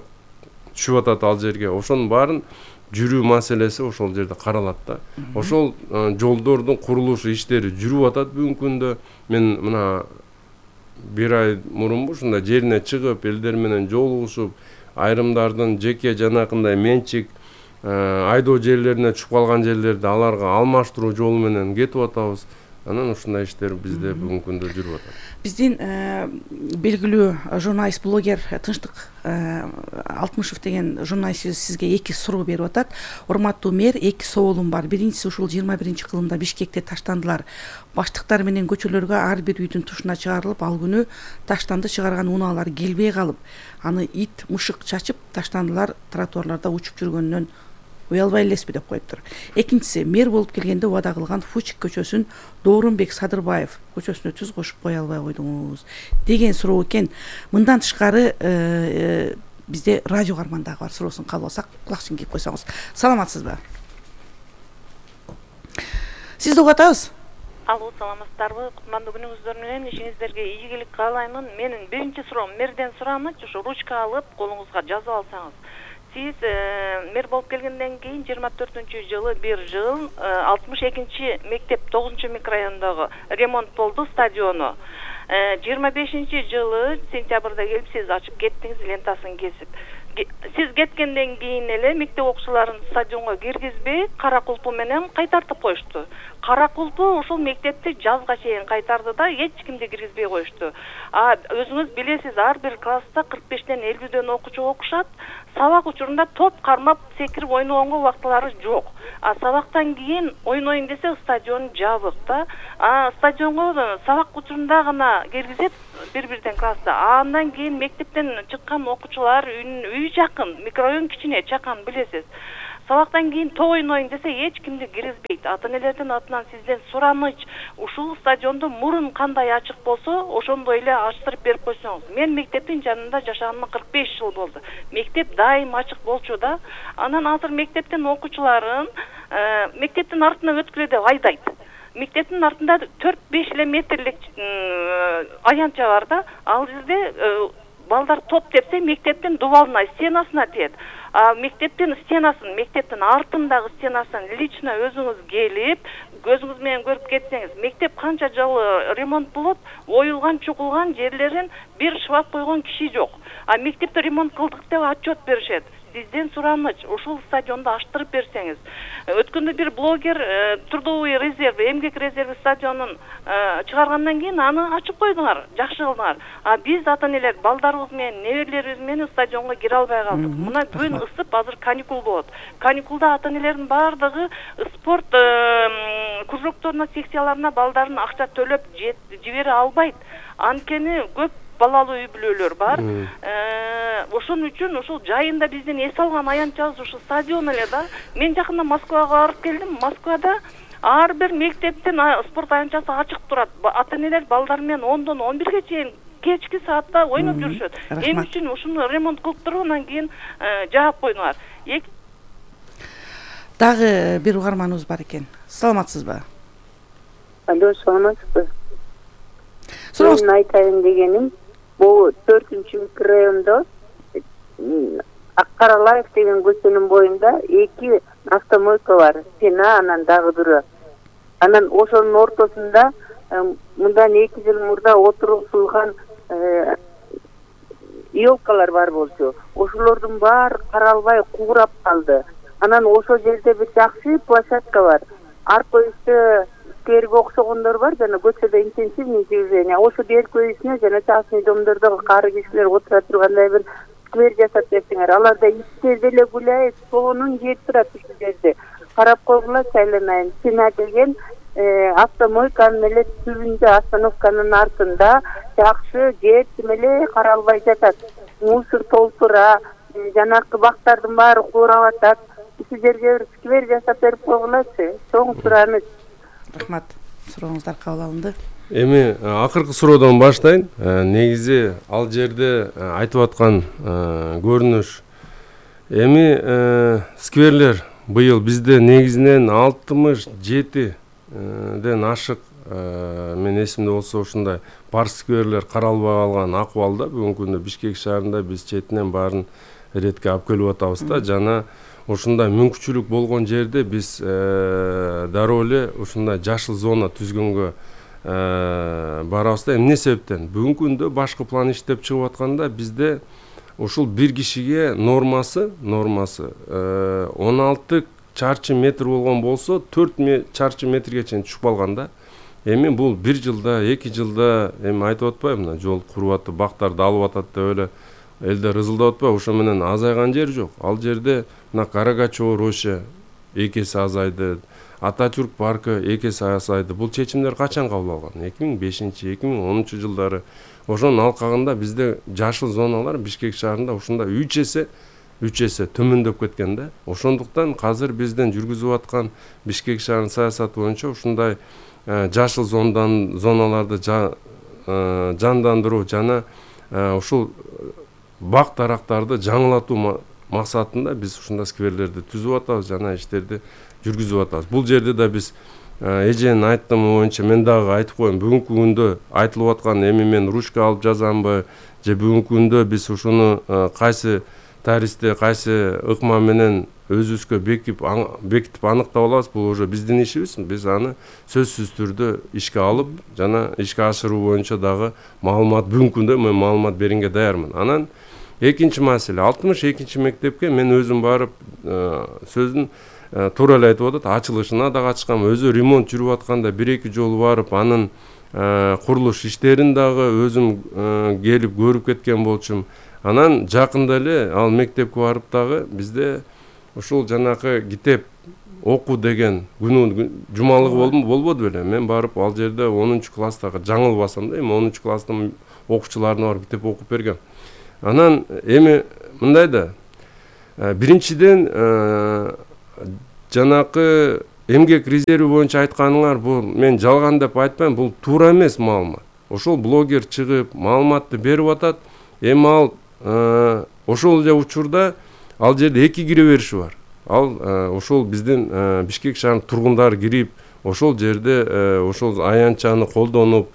түшүп атат ал жерге. Ошонун баарын жүрүү маселеси ошол жерде каралат да. Ошол жолдордун курулушу иштери жүрүп атат бүгүнкү күндө. Мен мына бир ай мурунбу ушундай жерине чыгып, элдер менен жолугушуп, айрымдардын жеке жанакындай менчик айдоо жерлерине түшүп калган жерлерди аларга алмаштыруу жолу менен кетип атабыз. Анан ушундай иштер бизде бүгүнкү күндө жүрүп атат. Биздин белгилүү журналист, блогер Тынчтык Алтмышев деген журналистибиз сизге 2 суроо берип атат. Урматтуу мэр, 2 соолум бар. Биринчиси, ушул 21-кылымда Бишкекте таштандылар. Баштыктар менен көчөлөргө ар бир үйдүн тушуна чыгарылып, ал күнү таштанды чыгарган унаалар келбей калып, аны ит, мышык чачып, таштандылар тротуарларда учуп жүргөнүнөн уялбай элеспи деп коюптур. Экинчиси, мэр болуп келгенде убада кылган Фучик көчөсүн Доорунбек Садырбаев көчөсүнө түз кошуп кое албай койдуңуз деген суроо экен. Мындан тышкары бизде радио карман дагы бар. Суроосун кабыл алсак, кулакчын кийип койсоңуз. Саламатсызбы? Сизди угуп атабыз. Алло, саламатсыздарбы? Кутмандуу күнүңүздөр менен ишиңиздерге ийгилик каалаймын. Менин биринчи суроом, мэрден сурамычы, ушу ручка алып колуңузга жазып алсаңыз. Сиз мэр болуп келгенден кийин 24-жылы бир жыл 62 мектеп 9 микрорайондогу ремонт болду стадиону. 25-жылы сентябрда келип сиз ачып кеттиңиз, лентасын кесип. Сиз кеткенден кийин эле мектеп окуучуларын стадионго киргизбей, кара кулпу менен кайтартып коюшту. Кара кулпу ошол мектепти жазга чейин кайтарды да, эч кимди киргизбей коюшту. Өзүңүз билесиз, ар бир класста 45ден 50дөн окуучу окушат. Сабак учурунда топ кармап секирип ойногонго убактылары жок. Сабактан кийин ойнойн десе стадион жабык да. Стадионго сабак учурунда гана киргизет бир-бирден класста. Андан кийин мектептен чыккан окуучулар үй жакын, микрорайон кичине, чакан, билесиз. Сабактан кийин топ ойнойн десе эч кимди киргизбейт. Ата-энелердин атынан сизден сураныч, ушул стадионду мурун кандай ачык болсо, ошондой эле ачтырып берип койсоңуз. Мен мектептин жанында жашаганыма 45 жыл болду. Мектеп дайым ачык болчу да. Анан азыр мектептин окуучуларын мектептин артына өткүлө деп айдайт. Мектептин артында 4-5 эле метрлик аянтча бар да. Ал жерде балдар топ тепсе, мектептин дубалына, стенасына тиет. Мектептин артындагы стенасын лично өзүңүз келип, көзүңүз менен көрүп кетсеңиз, мектеп канча жыл ремонт болот, оюлган, чукулган жерлерин бир шваб койгон киши жок. А мектепте ремонт кылдык деп отчет беришет. Сизден сураныч, ушул стадионду аштырып берсеңиз. Өткөндө бир блогер трудовой резерв, эмгек резерви стадионун чыгаргандан кийин аны ачып койдуңар, жакшы кылдыңар. А биз ата-энелер балдарыбыз менен, неберелерибиз менен стадионго кире албай калдык. Мына күн ысып, азыр каникул болот. Каникулда ата-энелердин бардыгы спорт кружокторуна, секцияларына балдарын акча төлөп жибере албайт. Анткени көп балалуу үй бүлөлөр бар. Ошон үчүн ушул жайында биздин эс алган аянтчабыз ушул стадион эле да. Мен жакында Москвага барып келдим. Москвада ар бир мектептин спорт аянтчасы ачык турат. Ата-энелер балдар менен 10-дон 11ге чейин кечки саатта ойноп жүрүшөт. Эмне үчүн ушуну ремонт кылып туруп анан кийин жаап койдуңар. Дагы бир угарманыбыз бар экен. Саламатсызбы? Алло, саламатсызбы? Мен айтайын дегеним, бул 4-чү микрорайондо Аккаралаев деген көчөнүн боюнда 2 автомойка бар. Сена, анан дагы бирөө. Анан ошонун ортосунда мындан 2 жыл мурда отургузулган елкалар бар болчу. Ошолордун баары каралбай куурап калды. Анан ошол жерде бир жакшы площадка бар. Арка үстү скверге окшогондор бар, жана көчөдө интенсивный движение. Ошо бер көйүсүнө жана частный домдордогу кары кишилер отура тургандай бир сквер жасап берсеңер, аларда иттер деле гуляйт, сонун жер турат ушул жерде. Карап койгула, айланайын. Сина деген автомойканын эле түбүндө, остановканын артында жакшы жер тим эле каралбай жатат. Мусор толтура, жанакы бактардын баары куурап атат. Ушул жерге бир сквер жасап берип койгулачы. Чоң сураныч. Рахмат. Сурооңуздар кабыл алынды. Эми акыркы суроодон баштайын. Негизи ал жерде айтып аткан көрүнүш. Эми скверлер быйыл бизде негизинен 67ден ашык, мен эсимде болсо ушундай парк скверлер каралбай калган акыбалда. Бүгүнкү күндө Бишкек шаарында биз четинен баарын ретке алып келип атабыз да, жана ушундай мүмкүнчүлүк болгон жерде биз дароо эле ушундай жашыл зона түзгөнгө барабыз да. Эмне себептен? Бүгүнкү күндө башкы план иштеп чыгып атканда бизде ушул бир кишиге нормасы 16 чарчы метр болгон болсо 4 чарчы метрге чейин түшүп калган да. Эми бул 1 жылда, 2 жылда эми айтып атпайбы, мына жол куруп атып, бактарды алып атат деп эле элдер ырылдап атпайбы? Ошо менен азайган жер жок. Ал жерде мына Карагачево роща 2 эсе азайды, Ататюрк паркы 2 эсе азайды. Бул чечимдер качан кабыл алган? 2005-2010 жылдары. Ошонун алкагында бизде жашыл зоналар Бишкек шаарында ушундай 3 эсе төмөндөп кеткен да. Ошондуктан азыр бизден жүргүзүп аткан Бишкек шаарынын саясаты боюнча ушундай жашыл зоналарды жандандыруу жана ушул бак дарактарды жаңылатуу максатында биз ушундай скверлерди түзүп атабыз жана иштерди жүргүзүп атабыз. Бул жерде да биз эженин айтымы боюнча мен дагы айтып коеюн, бүгүнкү күндө айтылып аткан эми мен ручка алып жазамбы же бүгүнкү күндө биз ушуну кайсы таристе, кайсы ыкма менен өзүбүзгө бекитип аныктап алабыз, бул уже биздин ишибиз. Биз аны сөзсүз түрдө ишке алып жана ишке ашыруу боюнча дагы маалымат бүгүнкү күндө мен маалымат беренге даярмын. Анан экинчи маселе, 62 мектепке мен өзүм барып сөзүн туура эле айтып атат, ачылышына да катышкам, өзү ремонт жүрүп атканда 1-2 жолу барып анын курулуш иштерин дагы өзүм келип көрүп кеткен болчумун. Анан жакында эле ал мектепке барып дагы бизде ушул жанакы китеп окуу деген күнү жумалыгы болбоду беле. Мен барып ал жерде 10 класстагы жаңылбасам да, эми 10 класстын окуучуларына барып китеп окуп бергем. Анан эми мындай да, биринчиден жанакы эмгек резерви боюнча айтканыңар, бул мен жалган деп айтпайм, бул туура эмес маалымат. Ошол блогер чыгып маалыматты берип атат. Эми ал ошол эле учурда ал жерде 2 кире бериши бар. Ал ошол биздин Бишкек шаарынын тургундары кирип, ошол жерде ошол аянтчаны колдонуп,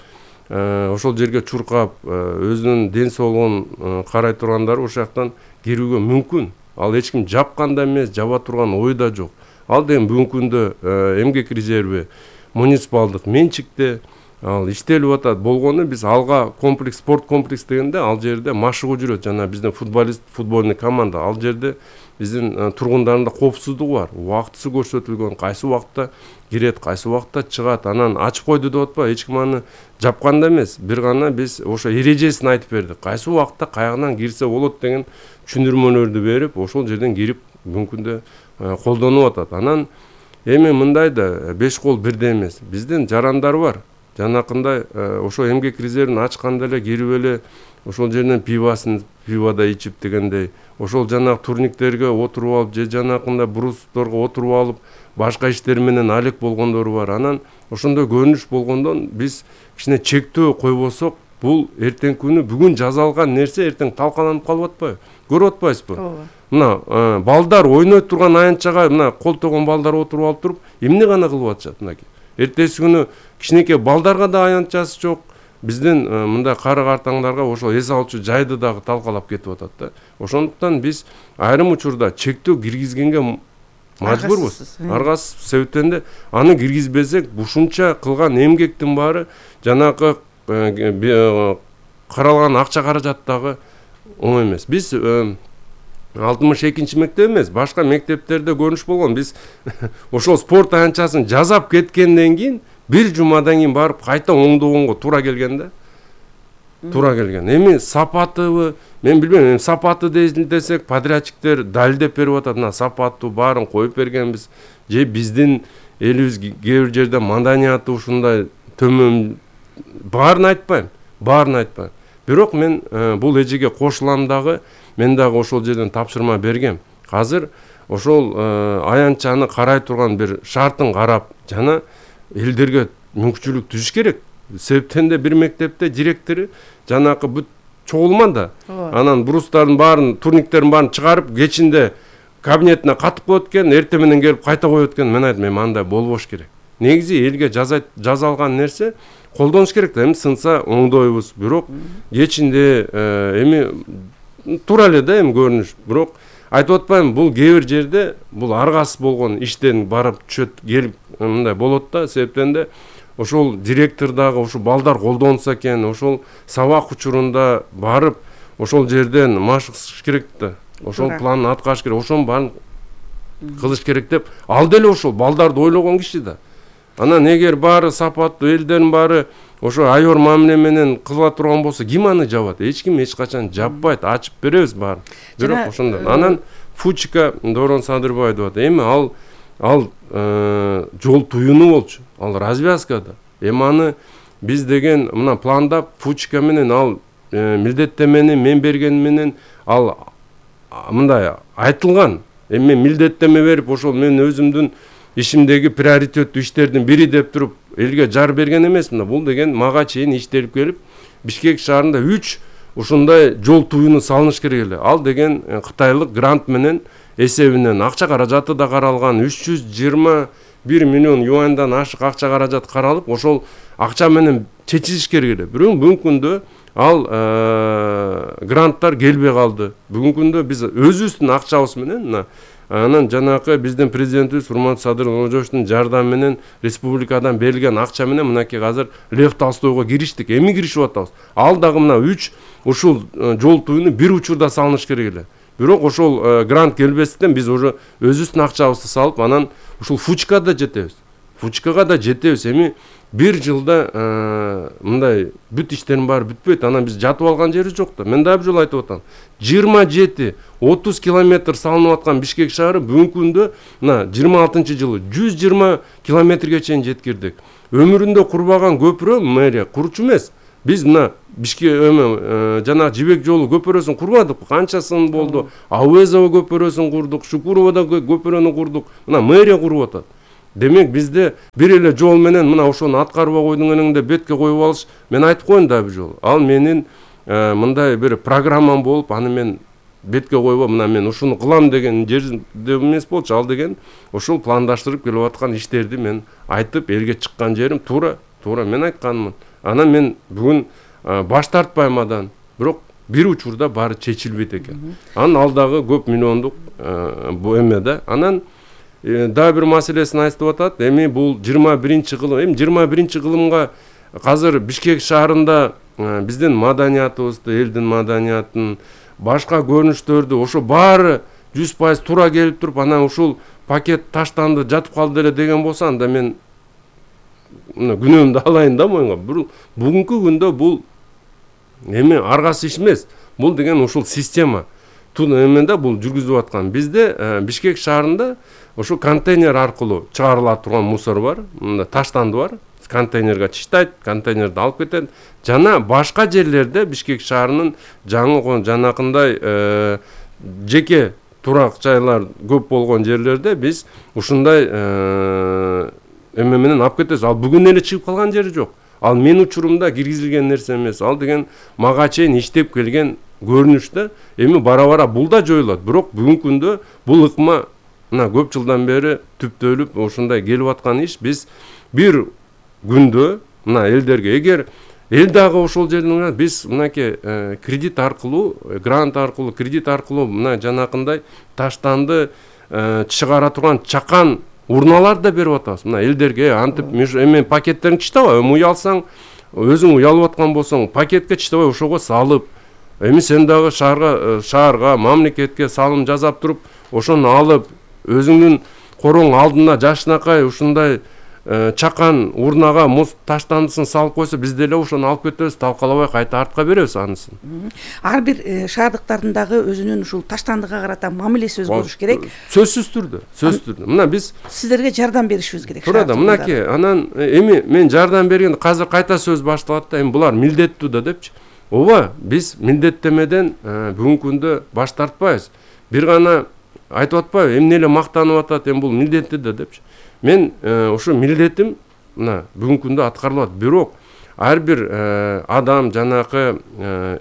ошол жерге чуркап, өзүнүн ден соолугун карай тургандар ошол жактан кирүүгө мүмкүн. Ал эч ким жапкан да эмес, жаба турган ой да жок. Ал деген бүгүнкү күндө эмгек резерви муниципалдык менчикте ал иштелип атат. Болгону биз алга комплекс, спорт комплекс дегенде ал жерде машыгуу жүрөт. Жана биздин футбольный команда ал жерде биздин тургундарында коопсуздугу бар. Убактысы көрсөтүлгөн, кайсы убакытта кирет, кайсы убакытта чыгат. Анан ачып койду деп атпайбы, эч ким аны жапканда эмес. Бир гана биз ошо эрежесин айтып бердик. Кайсы убакытта каягынан кирсе болот деген түшүндүрмөлөрдү берип, ошол жерден кирип бүгүнкүндө колдонуп атат. Анан эми мындай да 5 кол бирдей эмес. Биздин жарандар бар. Жанакындай ошо эмгек резервин ачканда эле кирип эле ошол жерден пивода ичип дегендей, ошол жанагы турниктерге отуруп алып, же жанакындай брусторго отуруп алып, башка иштер менен алек болгондору бар. Анан ошондой көрүнүш болгондон биз кичине чектөө койбосок, бул эртең күнү бүгүн жазалган нерсе эртең талкаланып калып атпайбы? Көрүп атпайсызбы? Мына балдар ойнойт турган аянтчага мына колтогон балдар отуруп алып туруп, эмне гана кылып атышат мынакей. Эртеси күнү кичинекей балдарга да аянтчасы жок. Биздин мындай кары картаңдарга ошо эс алчу жайды дагы талкалап кетип атат да. Ошондуктан биз айрым учурда чектөө киргизгенге мажбурбуз. Аргасыз себептен де аны киргизбесек, ушунча кылган эмгектин баары жанакы каралган акча каражаттагы оңой эмес. Биз 62-нчи мектеп эмес, башка мектептерде көрүнүш болгон. Биз ошол спорт аянтчасын жазап кеткенден кийин бир жумадан кийин барып кайта оңдогонго туура келген да. Туура келген. Эми сапатыбы, мен билбейм, сапаты десек, подрядчиктер далилдеп берип атат. Мына сапаттуу баарын коюп бергенбиз. Же биздин элибиз кээ бир жерде маданияты ушундай төмөн, баарын айтпайм. Бирок мен бул эжеге кошулам дагы, мен дагы ошол жерден тапшырма бергем. Азыр ошол аянтчаны карай турган бир шартын карап, жана элдерге мүмкүнчүлүк түзүш керек. Себептен де бир мектепте директору жанакы бүт чогулман да. Анан брустардын баарын, турниктердин баарын чыгарып, кечинде кабинетине катып коет экен, эртең менен келип кайта коет экен. Мен айттым, андай болбош керек. Негизи элге жазалган нерсе колдонуш керек да. Эми сынса оңдойбуз. Бирок кечинде эми туура эле да эми көрүнүш. Бирок айтып атпайм, бул кээ бир жерде бул аргасыз болгон иштен барып түшөт, келип мындай болот да. Себептен де ошол директор дагы ошол балдар колдонса экен, ошол сабак учурунда барып ошол жерден машыгыш керек да. Ошол планын аткарыш керек, ошонун баарын кылыш керек деп, ал деле ошол балдарды ойлогон киши да. Анан эгер баары сапаттуу, элдердин баары ошо айор мамиле менен кыла турган болсо, ким аны жабат? Эч ким эч качан жаппайт, ачып беребиз баарын. Бирок ошондой. Анан Фучика Дорон Садырбай деп атат. Эми ал жол туюну болчу. Ал развязкада. Эми аны биз деген мына пландап Фучика менен ал милдеттемени мен берген менен ал мындай айтылган. Эми мен милдеттеме берип, ошол мен өзүмдүн ишимдеги приоритеттүү иштердин бири деп туруп элге жар берген эмесмин. Бул деген мага чейин иштелип келип, Бишкек шаарында 3 ушундай жол туюну салыныш керек эле. Ал деген кытайлык грант менен эсебинен акча каражаты да каралган, 321 миллион юаньдан ашык акча каражат каралып, ошол акча менен чечилиш керек эле. Бирок бүгүнкү күндө ал гранттар келбей калды. Бүгүнкү күндө биз өзүбүздүн акчабыз менен анан жанакы биздин президентибиз Урмат Садыр Ожошовдун жардамы менен республикадан берилген акча менен мынакей азыр Лев Толстойго кириштик. Эми киришип атабыз. Ал дагы мына 3 ушул жол туюну бир учурда салыныш керек эле. Бирок ошол грант келбестен биз уже өзүбүздүн акчабызды салып, анан ушул Фучкага да жетебиз. Эми бир жылда мындай бүт иштердин баары бүтпөйт. Анан биз жатып алган жерибиз жок да. Мен дагы бир жолу айтып атам. 27-30 километр салынып аткан Бишкек шаары бүгүнкү күндө мына 26-жылы 120 километрге чейин жеткирдик. Өмүрүндө курбаган көпүрө мэрия курчу эмес. Биз мына Бишкек жана Жибек жолу көпүрөсүн курбадык. Канчасын болду? Ауезова көпүрөсүн курдук, Шукуровада көпүрөнү курдук. Мына мэрия куруп атат. Демек бизде бир эле жол менен мына ошону аткарбай койдуң энеңде бетке коюп алыш. Мен айтып коеюн да бир жолу. Ал менин мындай бир программам болуп, аны мен бетке койбой, мына мен ушуну кылам деген жерде эмес болчу. Ал деген ошол пландаштырып келип аткан иштерди мен айтып, элге чыккан жерим туура мен айтканмын. Анан мен бүгүн баш тартпайм адан. Бирок бир учурда баары чечилбейт экен. Анын алдагы көп миллиондук бу эме да. Анан дагы бир маселесин айтып атат. Эми бул 21-кылым. Эми 21-кылымга азыр Бишкек шаарында биздин маданиятыбызды, элдин маданиятын, башка көрүнүштөрдү ошо баары 100% туура келип туруп, анан ушул пакет таштанды, жатып калды эле деген болсо, анда мен күнөөмдү алайын да моюнга. Бүгүнкү күндө бул эми аргасы иш эмес. Бул деген ушул система. Эмеде бул жүргүзүп аткан. Бизде Бишкек шаарында ошо контейнер аркылуу чыгарыла турган мусор бар. Мында таштанды бар. Контейнерге чыштайт, контейнерди алып кетет. Жана башка жерлерде Бишкек шаарынын жанакындай жеке турак жайлар көп болгон жерлерде биз ушундай эме менен алып кетебиз. Ал бүгүн эле чыгып калган жери жок. Ал мен учурумда киргизилген нерсе эмес. Ал деген мага чейин иштеп келген көрүнүштө. Эми бара-бара бул да жоюлат. Бирок бүгүнкү күндө бул ыкма мына көп жылдан бери түптөлүп ушундай келип аткан иш. Биз бир күндө мына элдерге, эгер эл дагы ошол жерден биз мынакей кредит аркылуу, грант аркылуу, кредит аркылуу мына жанакындай таштанды чыгара турган чакан урналар да берип атабыз. Мына элдерге антип эми пакеттерин чыштабай, уялсаң, өзүң уялып аткан болсоң, пакетке чыштабай ошого салып, эми сен дагы шаарга, мамлекетке салым жасап туруп, ошону алып, өзүңдүн короң алдына жашынакай ушундай чакан урнага муз таштандысын салып койсо, биз деле ошону алып кетебиз, талкалабай кайта артка беребиз анысын. Ар бир шаардыктардын дагы өзүнүн ушул таштандыга карата мамилеси өзгөрүш керек. Сөзсүз түрдө. Мына биз сиздерге жардам беришибиз керек. Туура да, мынакей, анан эми мен жардам бергенде азыр кайта сөз башталат да, эми булар милдеттүү да депчи. Ооба, биз милдеттемеден бүгүнкү күндө баш тартпайбыз. Бир гана айтып атпайбы, эмне эле мактанып атат, эми бул милдетти да депчи. Мен ошо милдетим мына бүгүнкү күндө аткарылат. Бирок ар бир адам, жанакы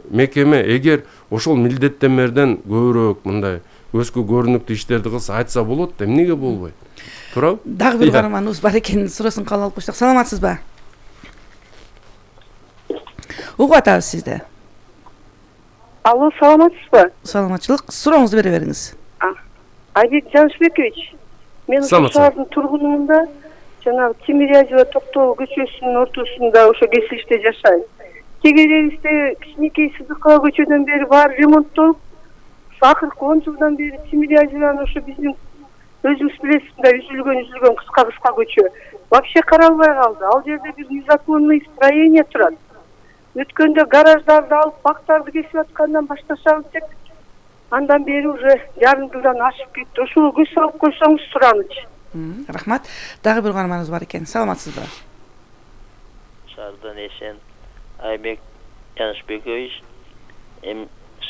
мекеме эгер ошол милдеттемерден көбүрөөк мындай көзгө көрүнүктүү иштерди кылса, айтса болот да, эмнеге болбойт? Туурабы? Дагы бир каарманыбыз бар экен, суроосун кабыл алып коюштук. Саламатсызбы? Угуп атабыз сизди. Алло, саламатсызбы? Саламатчылык. Сурооңузду бере бериңиз. Айбек Жанышбекович, мен шаардын тургунумун да, жанагы Тимирязева Токтогул көчөсүнүн ортосунда ошо кесилиште жашайм. Тегеребизде кичинекей Сыдыкова көчөдөн бери баары ремонттолуп, акыркы 10 жылдан бери Тимирязеванын ошо биздин өзүңүз билесиз да, үзүлгөн кыска көчө. Вообще каралбай калды. Ал жерде бир незаконный строение турат. Өткөндө гараждарды алып, бактарды кесип аткандан башташабыз деп, андан бери уже жарым жылдан ашып кетти. Ошого көз салып койсоңуз суранычы. Рахмат. Дагы бир каарманыбыз бар экен. Саламатсызбы? Шаардан эсен Айбек Жанышбекович.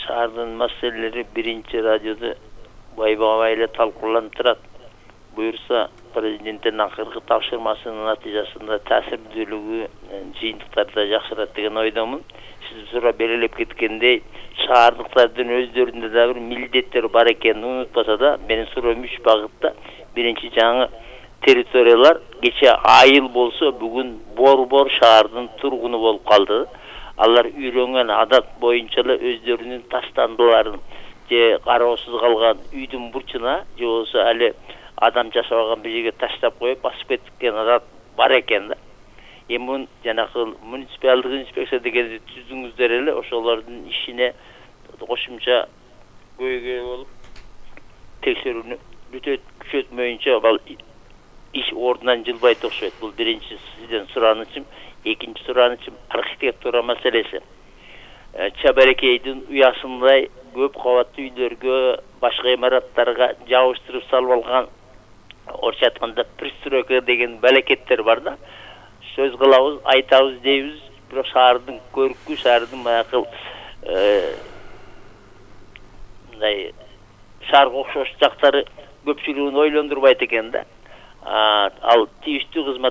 Шаардын маселелери биринчи радиодо байбагай эле талкууланып турат. Буюрса, президенттин акыркы тапшырмасынын натыйжасында таасирдүүлүгү жыйынтыктарда жакшырат деген ойдомун. Сиз сурап белгилеп кеткендей, шаардыктардын өздөрүндө да бир милдеттер бар экенин унутпаса да, менин суроом 3 багытта. Биринчи, жаңы территориялар кече айыл болсо, бүгүн Борбор шаардын тургуну болуп калды. Алар үйрөнгөн адат боюнча эле өздөрүнүн таштандыларын же кароосуз калган үйдүн бурчуна же болбосо али адам жашабаган бир жерге таштап коюп басып кеткен адат бар экен да. Эми жанакы муниципалдык инспекция дегенди түздүңүздөр эле, ошолордун ишине кошумча көйгөй болуп текшерүүнү күчөтмөйүнчө ал иш ордунан жылбайт окшойт. Бул биринчи сизден суранычым. Экинчи суранычым архитектура маселеси. Чабарекейдин уясындай көп кабаттуу үйлөргө, башка имараттарга жабыштырып салып алган, орча айтканда пристройка деген балекеттер бар да. Сөз кылабыз, айтабыз дейбиз, бирок шаардын көркү, шаардын баягы мындай шаарга окшош жактары көпчүлүгүн ойлондурбайт экен да. Ал тийиштүү кызмат